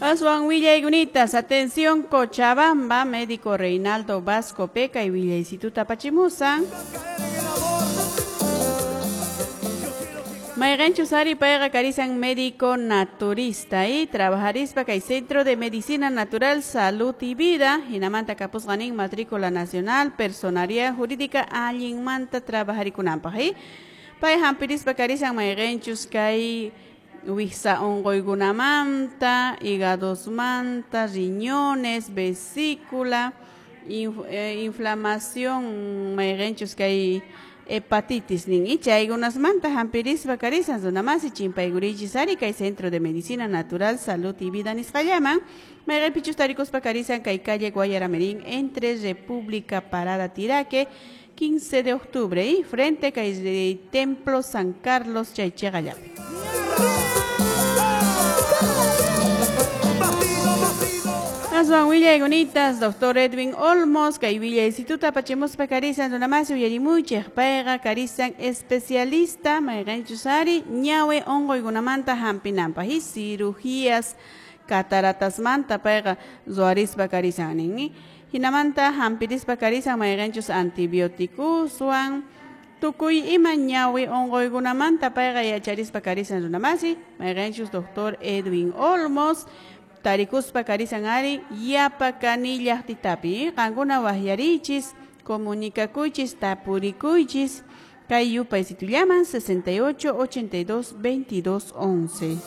Aswan willaymunitas, atención Cochabamba, médico Reinaldo Vasco Peca y Villaysituta Pachimusan. Mayqanchus ari payqa karisan médico naturista y trabajarispa kay Centro de Medicina Natural, Salud y Vida, hinamanta kapusqanin matrícula nacional, personalidad jurídica allinmanta trabajarikunanpaq y pay hampirispa karisan mayqanchus kay wiksa unquykunamanta, hígadosmanta, riñones, vesícula, inflamación mayqanchus kay hepatitis nin y chaykunasmanta hampirispa karisan runamasi chimpaykurichis ari kay Centro de Medicina Natural, Salud y Vida nisqallaman mayqanpichus tarikuspa karisan kay calle Guayaramerín entre República Parada Tiraque 15 de octubre y frente kay Templo San Carlos chaychiqallapi. Aswan willaymunitas, doctor Edwin Olmos, kay Villa Instituto Pachemuspa karisan runamasi uyarimuchej, payqa karisan especialista mayqanchus ari ñawi unquykunamanta hampinanpaq y cirugías cataratasmanta payqa ruwarispa karisan nin. Hinamanta hampirispa karisan mayqanchus antibióticoswan tukuy ima ñawi unquykunamanta payqa yacharispa karisan runamasi mayqanchus doctor Edwin Olmos tarikuspa karisan ari yapa kanillaqtitapi qankuna wahyarichis comunicakuychis tapurikuychis kay yupaysitullaman 68 82 22 11.